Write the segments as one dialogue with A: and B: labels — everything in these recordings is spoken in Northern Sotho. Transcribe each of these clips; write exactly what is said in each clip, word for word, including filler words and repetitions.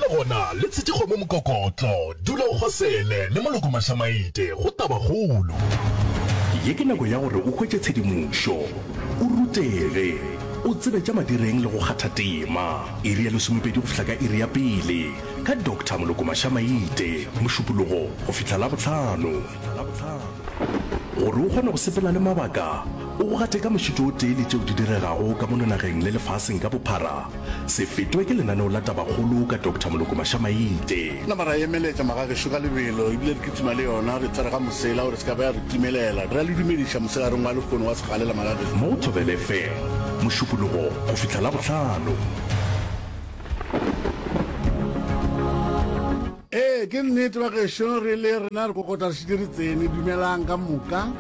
A: Le gona le tshetše kgomo mokokotlo, dula o kgosele le Moloko Mašamaite go Tabakgolo.
B: Ye ke nako ya gore o hwetše tshedimošo, o rutege, o tsebe tša madireng le go kgatha tema. Iri ya lesomepedi go fihla ka iri ya pele, ka Doctor Moloko Mašamaite, Mošupologo go fihla Labohlano. Gore o kgone go sepela le mabaka, o go gate ka mošito o tee le tšeo di diregago ka mono nageng le lefaseng ka bophara, se fetwe ke lenaneo la Tabakgolo ka Doctor Moloko Mašamaite.
C: Nama ra emeletša magagešo ka lebelo ebile re kitima le yona, re tsere ga mosela gore se ka ba ya re timelela. Re a le dumediša mosegareng wa lehono wa segalela magagešo.
B: Mo go Thobela FM, Mošupologo go fihla Labohlano.
C: Ee, ke nnete bagešo, re le rena re kokota re šetše re tsene. Dumelang ka moka,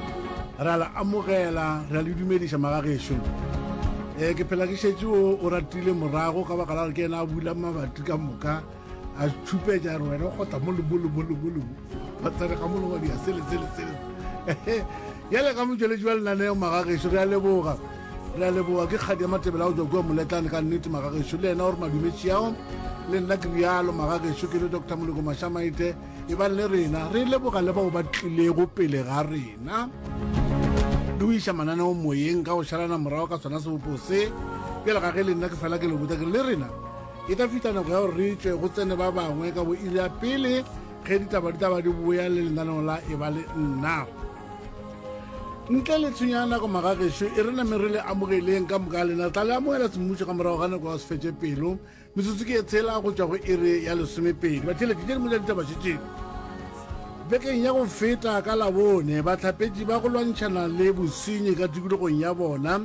C: re a le amogela, re a le dumediša magagešo. Ee, ke phela ke šetše o, o ratile morago ka baka la gore ke yena a bula mabati ka moka, a tšhupetša re wena o kgotla mo le mo le mo le mo le mo, ba tsene ga mo le wa dia sele sele sele. Bjale ka motšweletši wa lenaneo magagešo, re a leboga. Re a leboga ke kgadi ya Matebele a go tšwa kua Moletlane ka nnete magagešo le yena o re madumetši ao le nna ke rialo magagešo ke le Doctor Moloko Mašamaite e bang le rena re leboga le bao ba tlilego pele ga rena le go iša mananeo moyeng ka go šalana morago ka sona sebopo se bjale ga ge le nna ke fela ke le botsa ke re le rena e tla fihla nako ya gore re tšwe go tsene ba bangwe ka bo iri ya pele ge ditaba di tla ba di boya le lenaneo la e ba le nna. Ntle le tshwenyo ya nako magagešo, e re name re le amogeleng ka moka lena. Re tla le amogela semmušo ka morago ga nako ya go se fetše pelo. Metsotso ke ye tshela go tšwa go iri ya lesomepedi. Batheeletši tše dingwe tša ditaba še tše. Bekeng ya go feta ka Labone, bahlapetši ba go lwantšhana le bosenyi ka tikologong ya bona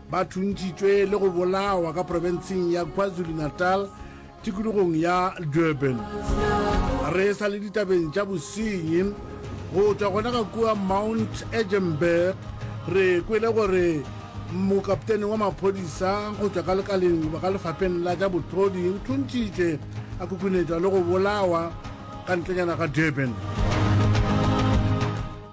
C: ba thuntšitšwe le go bolawa ka profenseng ya KwaZulu-Natal Tikologong ya Durban. Re sa le ditabeng tša bosenyi, go tšwa gona ka kua Mount Edgenburg, re kwele gore mokaptene wa maphodisa go tšwa ka lekaleng goba ka lefapheng la tša bohlodi o thuntšitšwe a khukhunetšwa le go bolawa ka ntlenyana ga Durban.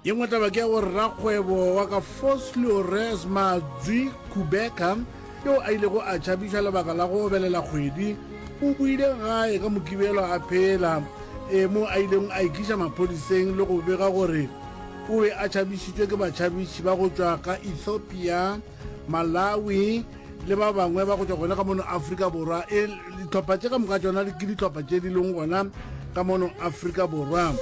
C: Ye nngwe taba ke ya gore rakgwebo wa ka Vosloorus Mazwi Kubeka yo a ilego a tšhabišwa lebaka la go obelela kgwedi, o boile gae ka Mokibelo a phela, e mo a ilego a ikiša maphodiseng le go bega gore o be a tšhabišitšwe ke batšhabiši ba go tšwa ka Ethiopia, Malawi le ba bangwe ba go tšwa gona ka mono Afrika Borwa. E, dihlopha tše ka moka tšona ke dihlopha tše di leng gona ka mono Afrika Borwa,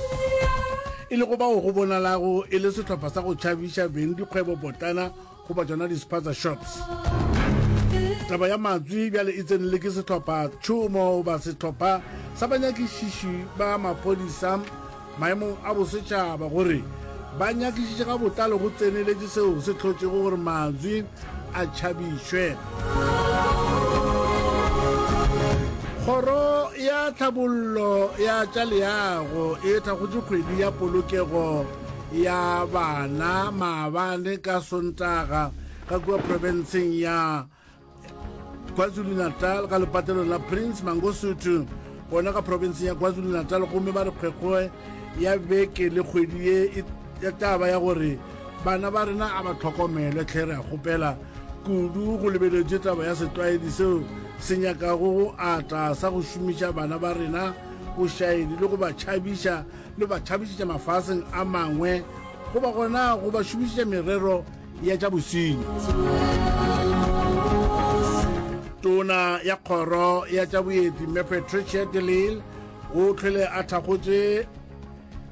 C: e lego bao go bonalago e le sehlopha sa go tšhabiša beng dikgwebo potlana goba tšona di-spaza shops. Taba ya matswi bjale e tsenele ke sehlopha tšhomo goba sehlopha sa banyakišiši ba maphodisa maemong a bosetšhaba gore ba nyakišiše ka botlalo go tseneletše seo se hlotšego gore matswi a tšhabišwe. Kgoro ya Tlhabollo ya tša Leago e thakgotše kgwedi ya polokego ya bana maabane ka Sontaga ka kua profenseng ya KwaZulu-Natal ka lepatlelong la Prince Mangosuthu gona ka profenseng ya KwaZulu-Natal gomme ba re kgwekgwe ya beke le kgwedi ye e ya taba ya gore bana ba rena a ba tlhokomelwe tlhe re a kgopela kudu go lebeletše taba ya setlwaedi seo se nyakago go ata sa go šomiša bana ba rena bošaedi le go ba tšhabiša le ba tšhabišetša mafaseng a mangwe goba gona go ba šomišetša merero ya tša bosenyi. Tona ya Kgoro ya tša Boeti Mme Patricia de Lille o hlwele a thakgotše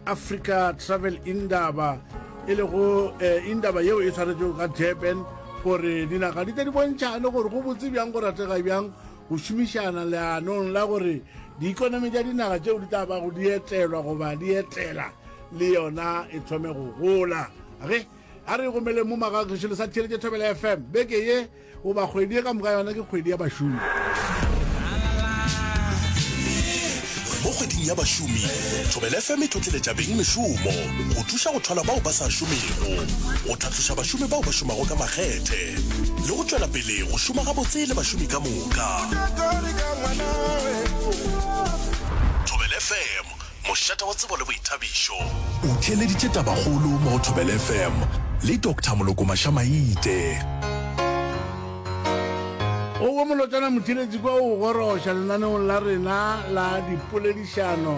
C: Africa Travel Indaba e lego eh, indaba yeo e swaretšwego ka Durban gore dinaga di tle di bontšhane gore go botse bjang go ratega bjang go šomišana leanong la gore diikonomi tša dinaga tšeo di tla bago di etelwa goba di etela le yona e thome go gola. Ge a re gomeleng mo magagešu le sa theeletše Thobela F M beke ye goba kgwedi ye ka moka yona ke kgwedi ya bašomi.
A: Mo kgweding ya bašomi, Thobela F M e tlotleletša beng mešomo, go thuša go thwala bao ba sa šomego, go tlhatloša bašomi bao ba šomago ka makgethe, le go tšwela pele go šoma gabotse le bašomi ka moka. Thobela F M, mošate wa tsebo le boithabišo. O theeleditše Tabakgolo mo go Thobela F M le Doctor Moloko Mašamaite.
C: O molotšana motheletši kwa o goroša lenaneong la rena la dipoledišano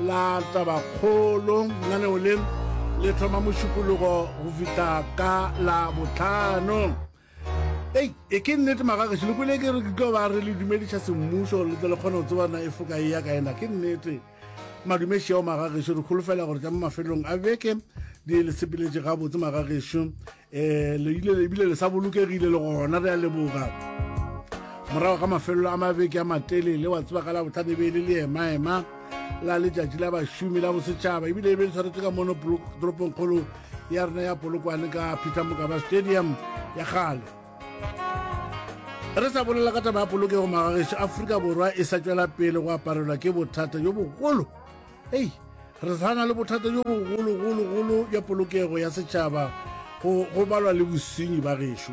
C: la tabakgolo. Lenaneo le le thoma mošupologo go fihla ka la botlhano. Ei, e ke nnete magagešo, le kwele ke re ke tlo ba re le dumediša semmušo gore le tle le kgone go tseba na e foka e ya kae na. Ke nnete madumeši ao magagešo, re kholofela gore tša mo mafelong a beke di le sepeletše gabotse magagešo. Um le ile ebile le sa bolokegile le gona, re a leboga. Morago ga mafelelo a mabeke a matelele, wa tseba ka la botlhano e be e le leemaema la letšatši la bašomi la bosetšhaba, ebile e be le tshwaretswe ka mono toropongkgolo ya rena ya Polokwane ka Peter Mokaba Stadium ya kgale. Re sa bolela ka taba ya polokego magagešo, Afrika Borwa e sa tšwela pele go aparelwa ke bothata bjo bogolo. Ei, re sa na le bothata bjo bogologologolo bja polokego ya setšhaba go go balwa le bosenyi ba gešo,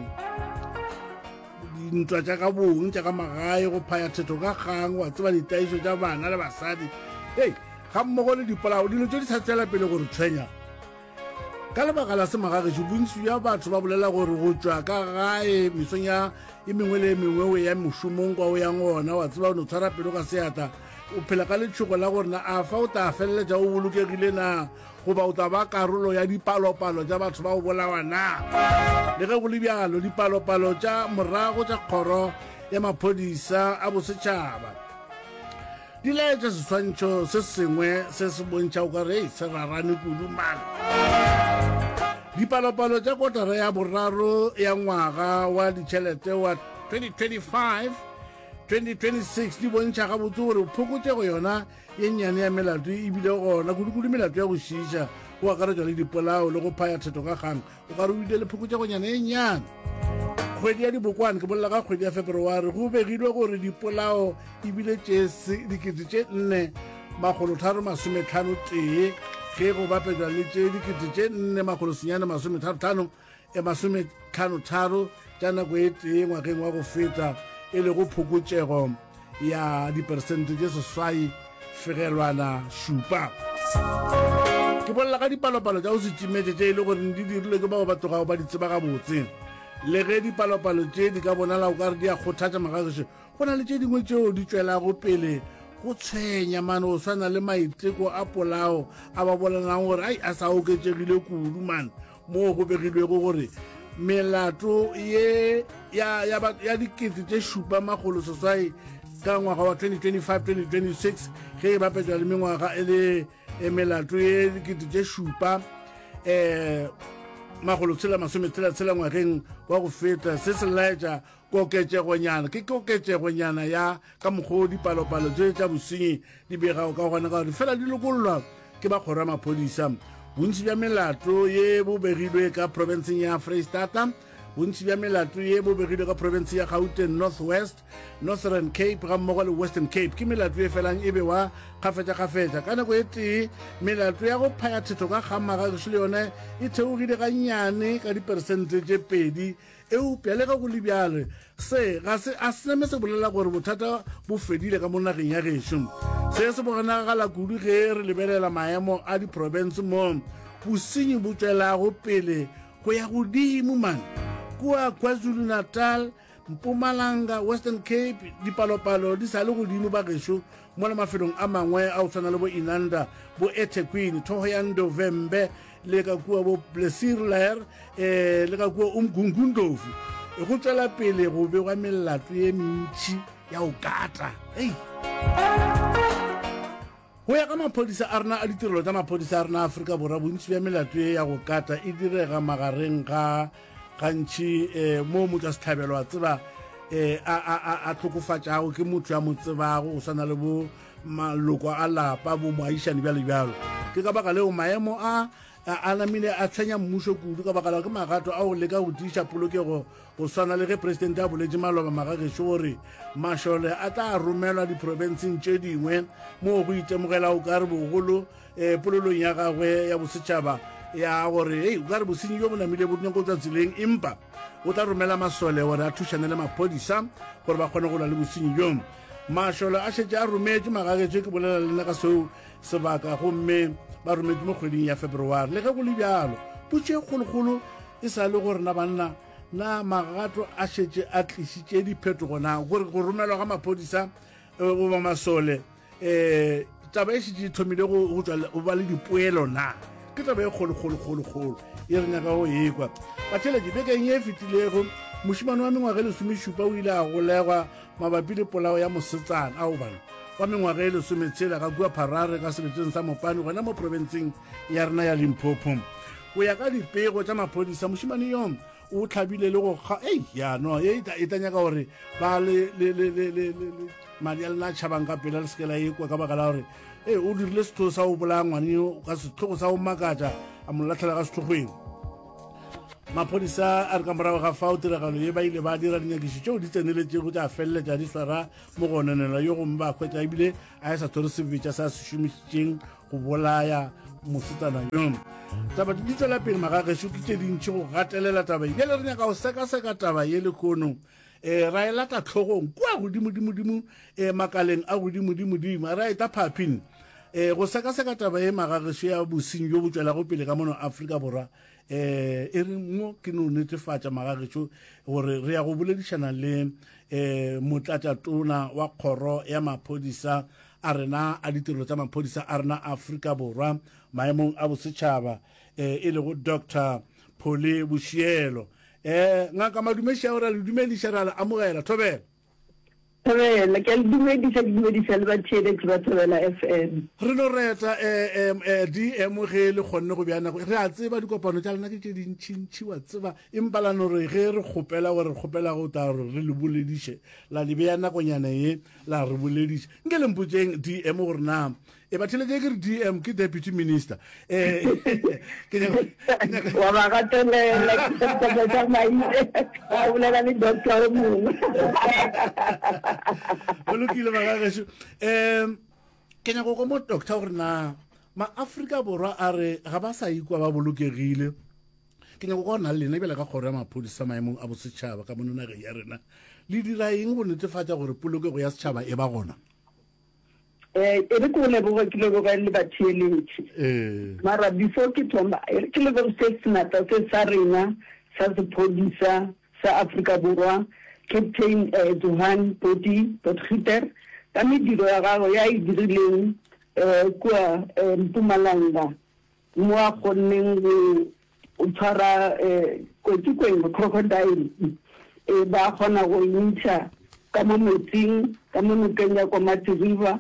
C: dintwa tša ka bong tša ka magae, go phaya thetho ka kgang, wa tseba ditaišo tša bana le basadi, ei ga mmogo le dipolao. Dilo tše di sa tšwela pele go re tshwenya. Ka lebaka la semagagešo, bontši bja batho ba bolela gore go tšwa ka gae mesong ya e mengwe le e mengwe o ya mošomong kwa o yang gona, wa tseba o no tshwara pelo ka seatla, o phela ka letšhogo la gore na a fa o tla feleletša o bolokegile na, goba o tla ba karolo ya dipalopalo tša batho ba go bolawa na. Le ge go le bjalo, dipalopalo tša morago tša kgoro ya maphodisa a bosetšhaba di laetša seswantšho se sengwe se se bontšha o ka re se rarane kudu man. Dipalopalo tša kotara ya boraro ya ngwaga wa ditšhelete wa twenty twenty-five twenty twenty-six di bontšha gabotse gore phokotšego yona ye nnyane ya melato ebile gona, kudu-kudu melato ya go šiiša, go akaretšwa le dipolao le go phaya thetho ka kgang, o ka re o ile le phokotšegonyana ye nnyane. Kgwedi ya dibokwane, ke bolela ka kgwedi ya February, go begilwe gore dipolao ebile tše dikete tše nne makgolo tharo masometlhano tee ge go bapetšwa le tše dikete tše nne makgolo senyane masometharo tlhano e masometlhano tharo tša nako e tee ngwageng wa go feta, e lego phokotšego ya diperesente tše seswai fegelwana šupa. Ke bolela ka dipalopalo tša go se timetše tše e le gore di dirilwe ke bao ba tlogago ba di tseba gabotse. Le ge dipalopalo tše di ka bonala o ka re di a kgothatša magagešo, go na le tše dingwe tšeo di tšwelago pele go tshwenya mane, o swana le maiteko a polao a ba bolelang gore ai a sa oketšegile kudu mane, moo go begilwego gore melato ye ya, ya, ya dikete tše šupa makgolo seswai ka ngwaga wa twenty twenty-five twenty twenty-six ge e bapetšwa le mengwaga e le melato ye dikete tše šupa um makgolo tshela masometshela tshela ngwageng wa go feta. Se se laetša koketšegonyana, ke koketšegonyana ya ka mokgwa o dipalopalo tše tša bosenyi di begago ka gona, ka gore fela di lokollwa ke ba kgoro ya maphodisa. Bontši bja melato ye bo begilwe ka profenseng ya Freistata, bontši bja melato ye bo begilwe ka profense ya Gauteng, North West, Northern Cape ga mmogo le Western Cape. Ke melato e felang e bewa kgafetša-kgafetša. Ka nako e tee, melato ya go phaya thetho ka kgang magagešo le yona e theogile gannyane ka diperesente tše pedi. Eupša le ge go le bjalo, se ga se a se name se bolela gore bothata bo fedile ka mo nageng ya gešo. Se se bonagala kudu ge re lebelela maemo a diprofense mo bosenyi bo tšwelago pele go ya godimo man. Kua KwaZulu-Natal, Mpumalanga, Western Cape, dipalopalo di sa le godimo ba gešo, mola mafelong a mangwe a go tshwana le bo Inanda, bo eThekwini, Thohoyandou, Vhembe le ka kua bo Plessisrivier, eh le ka kua Umgungundlovu, go tšwela pele go begwa melato ye mentši ya go kata. Ei, go ya ka maphodisa a rena a ditirelo tša maphodisa a rena a Afrika Borwa, bontši bja melato ye ya go kata e direga magareng ga gantši um mo motho a setlhabelo a tseba um a hlokofatšago ke motho ya mo tsebago, go swana le bo maloko a lapa, bo moagišane bjalo bjalo. Ke ka baka leo maemo a a namile a tshwenya mmušo kudu, ka baka la ke magato a go leka go tiiša polokego, go swana le ge presidente a boletše maloba magagešo gore mašole a tla romelwa diprofenseng tše dingwe moo go itemogela o ka re bogolo um polelong ya gagwe ya bosetšhaba ya gore ei o ka re bosenyi bjo bo namile bo nyako tswa tseleng, empa o tla romela masole gore a thušane le maphodisa gore ba kgone go lwa le bosenyi bjo. Mašole a šetše a rometšwe magagetšo, ke bolela le nna ka seo sebaka, gomme ba rometšwe mo kgweding ya February. Le ge go le bjalo, potšo e kgolokgolo e sa le gore na banna Na magato a šetše a tlišitše diphetogo na gore go romelwa ga maphodisa goba masole um taba e šetše e thomile go tšwa go ba le dipoelo na? Ke taba e kgolo kgolo kgolo kgolo e re nyaka go ekwa. Batheeletši, bekeng ye e fetilego mošemane wa mengwaga e lesomešupa o ile a golegwa mabapi le polao ya mosetsana ao bana wa mengwaga e lesometshela ka kua Pharare ka seleteng sa Mopani gona mo profenseng ya rena ya Limpopo. Go ya ka dipego tša maphodisa, mošemane yo o hlabile le go kga ei ya no e e tla nyaka gore ba le le le le le madi a lena a tšhabang ka pela le seke la ekwa ka baka la gore ee o dirile setho sa go bolaya ngwane yo ka setlhogo sa go makatša a mo latlhela ka sethokgweng. Maphodisa a re ka morago ga fao tiragalo ye ba ile ba dira dinyakišo tšeo di tseneletšego tša feleletša di swara mogononelwa yo gomme ba hwetša ebile a e sa tshwere sebetša sa se šomišitšeng go bolaya mosetsana yo. Taba di tšwela pele magagešo ke tše dintši go gatelela taba ye. Bjale re nyaka go sekaseka taba ye lehono um ra e lata tlhogong kua godimodimodimo um makaleng a godimodimodimo ra eta phaphing um go sekaseka taba ye magagešo ya bosenyi bjo bo tšwelago pele ka mono Afrika Borwa. Um e re mo ke no netefatša magagešo gore re ya go boledišana le um motlatšatona wa kgoro ya maphodisa a rena a ditirelo tša maphodisa a rena Afrika Borwa maemong a bosetšhaba um e lego Doctor Polly Boshielo. Um Ngaka Madumešiago, re a le dumediša, re a le amogela. Thobela.
D: Thobela, ke a le dumediša, ke dumediša le batheeletši ba Thobela F M.
C: Re no reta um D M ge le kgonne go bea nako. Re a tseba dikopano tša lena ke tše dintšintši, wa tseba, empa la no re ge re kgopela gore re kgopela go tla gore re le bolediše, la le bea nakonyana ye la re bolediša. Nke le mpotšeng D M gore na e batheletše ke re D M ke deputy minister. Eh ke nyaka
D: wa ba gatelela ke tsa maile wa bolela le doctor o mongwe.
C: Go lokile bagagešo. Um ke nyaka go mo doctor gore na ma-Afrika Borwa a re ga ba sa ikwa ba bolokegile. Ke nyaka go na le lena bjale ka kgoro ya maphodisa maemong a bosetšhaba ka mono nageng ya rena, le dira eng go netefatša gore polokego ya setšhaba e ba gona?
D: Eh, e re ke o leboge, ke leboge le batheeletši. Mara before ke thoma, e re ke leboge se senatla se sa rena sa sephodisa sa Afrika Borwa, Captain eh, Johan Poti Potgieter, ka mediro ya gagwe ya e dirileng eh, kua eh, Mpumalanga, mo a kgonneng go tshwara eh, kotsi kweng, crocodile, e ba kgona go e ntšha ka mo metsing, ka mo nokeng ya Komati River.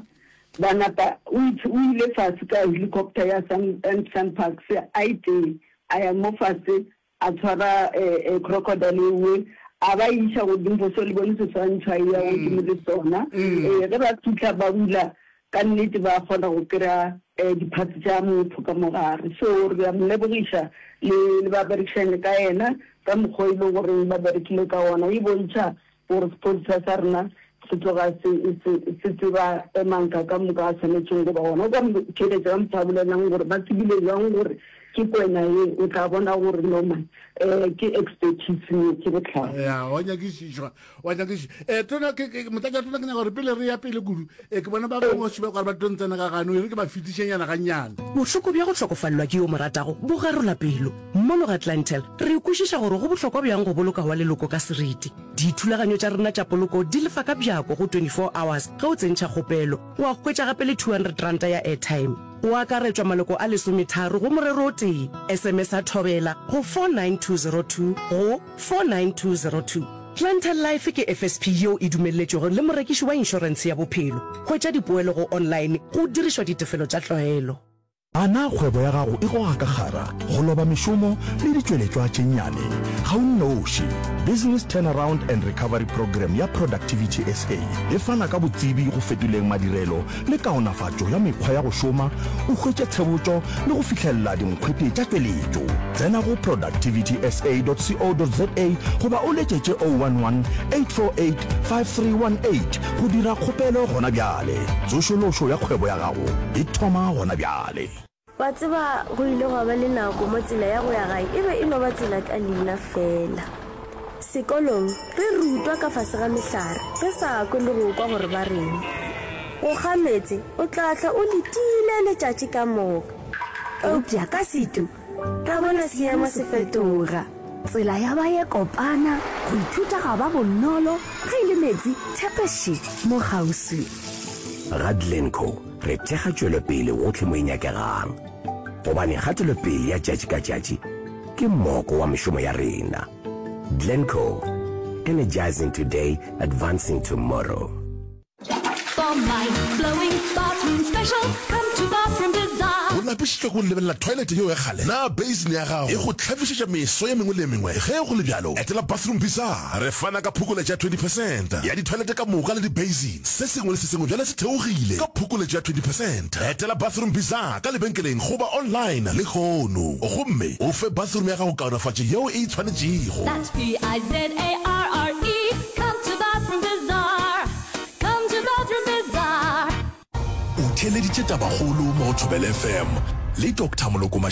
D: Ba napa o ile fase ka helicopter ya Sun, SanParks a e tee, a ya mo fase a tshwara crocodile ewe, a ba iša godimo, so le bone seswantšho a e ya godimo le sona. Ee, ge ba fihla ba bula, ka nnete ba kgona go kry-a di-parts tša motho ka mo gare. So re a mo lebogiša le le ba berekišane ka yena ka mokgwa e leng goreng ba berekile ka ona. E bontšha gore sephodisa sa rena se tloga se se se tseba manka ka moka a swanetšeng go ba gona. O ka mo theeletša ka motho a bolelang gore ba tsebile jwang gore ke kwena ye, o tla bona gore no man um ke expertise ye, ke bohlale.
C: Ya, wa nyakišišwa, wa nyakišišwa. Eh, tona ke ke motlatša tona, ke nyaka gore pele re ya pele kudu, eh, ke bona ba bangwe ba gore ba tlo ntsena ka gano, e re ke ba fetišenyana gannyane.
E: Bohloko bja go hlokofalelwa ke yo mo ratago bo garola pelo. Mono ga Clientele, re kwešiša gore go bohlokwa bjang go boloka wa leloko ka seriti. Dithulaganyo tša rena tša poloko di lefa ka bjako go twenty-four hours ge o tsentšha kgopelo. Wa hwetša gape le two hundred ranta ya airtime. Go akaretšwa maloko a lesometharo go morero o tee. S M S a Thobela go four nine two zero two go four nine two zero two. Clientele Life ke F S P yeo e dumelletšwego le morekiši wa inšorentshe ya bophelo. Hwetša dipoelo go online go dirišwa ditefelo tša tlwaelo.
B: A na kgwebo ya gago e goga ka kgara, go loba mešomo le ditšweletšwa tše nnyane? Ga o nnoši. Business Turnaround and Recovery Programme ya Productivity S A e fana ka botsebi go fetoleng madirelo le kaonafatšo ya mekgwa ya go šoma, o hwetše tshebotšo le go fihlelela dinkgwete tša tšweletšo. Tsena go productivity S A dot co dot za goba o letšetše oh one one, eight four eight, five three one eight go dira kgopelo gona bjale. Tsošološo ya kgwebo ya gago e thoma gona bjale.
F: Wa tseba, go ile gwa ba le nako mo tsela ya go ya gae e be e no ba tsela ka leina fela. Sekolong, re rutwa ka fase ga mehlare, re sa kwe le go kwa gore ba reng. Go kga meetse, o tla hlwa o letile letšatši ka moka. Eupša ka setu, ra bona seemo se fetoga.
G: Tsela ya ba ye kopana, go ithuta ga ba bonolo, ge e le meetse, thepe še, mo kgauswi.
H: Ga Glencoe re thekga tšwelopele gohle mo e nyakegang, gobane kgatelopele ya tšatši ka tšatši ke moko wa mešomo ya rena. Glencoe, energizing today, advancing tomorrow.
A: O lapišitšwe ke go lebelela toilet yeo ya kgale? Na basin ya gago e go hlafišetša meso ye mengwe le ye mengwe? Ge go le bjalo, etela Bathroom Bizarre. Re fana ka phokoletšo ya twenty percent ya ditoilet ka moka le di-basin. Se sengwe le se sengwe bjale se theogile ka phokoletšo ya twenty percent. Etela Bathroom Bizarre ka lebenkeleng goba online lehono gomme o fe bathroom ya gago kaonafatšo yeo e e tshwanetšego.
I: That's B-I-Z-A-R-R-E, come to Bathroom Bizarre, come to Bathroom Bizarre.
B: O theeleditše Tabakgolo mo go Thobela F M le Doctor Moloko Mashama.